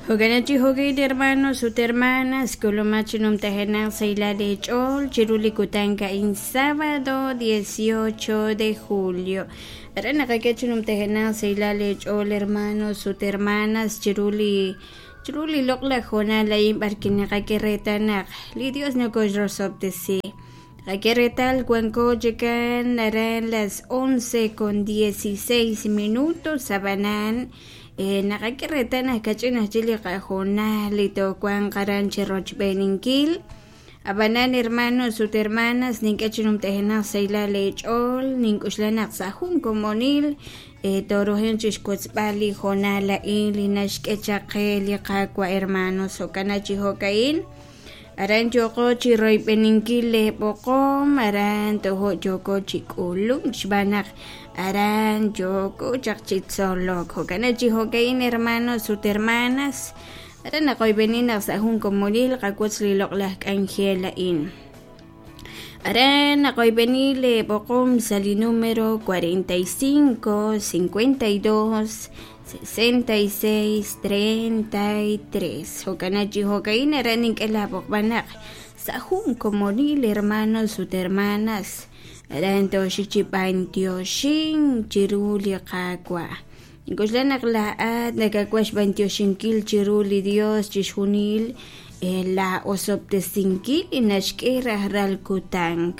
Jo'kan chi jo'kil hermanos ut hermanas k'ulumaq chi numtajenaq sahilal eech'ool chiru li kutan a'in sábado 18 de julio. Aran naqak'e chi numtajenaq sahilal eech'ool hermanos ut hermanas chiru li chiru li loq'laj hoonal a'in b'arwi' naqak'e reetal naq li Dios nokoxrosob'tesi. Naqak'e reetal wanko chikan aran las 11 con 16 minutos ab'anan naqak'e reetal naq kach'in aj chik li qahoonal li toowanq aran chi rochb'eeninkil. Ab'anan hermanos ut hermanas nink'e chi numtajenaq sahilal eech'ool nink'uxla naq sa' jun komonil tooruhanq chi xwotzb'al li hoonal a'in li naxk'e chaq qe li Qaawa' hermanos. Jo'kan chi jo'ka'in aran yooko chi royb'eninkil leeb'oqom aran tojo' yooko chi k'ulunk xb'aan naq aran yooko chaq chi tzolok. Jo'kan chi jo'ka'in hermanos ut hermanas aran naqoyb'eni naq sa' jun komonil qawotz li loq'laj k'anjel a'in. Aran naqoyb'eni leeb'oqom sa' li número 45 52 66 33. Jo'kan chi jo'ka'in aran nink'e laab'oqb'al naq sa' jun komonil hermanos ut hermanas aran tooxik chi b'antioxink chiru li Qaawa'. Nink'oxla naq laa'at nakawaj xb'antioxinkil chiru li Dios chixjunil la osob'tesinkil li naxk'e rajlal kutan.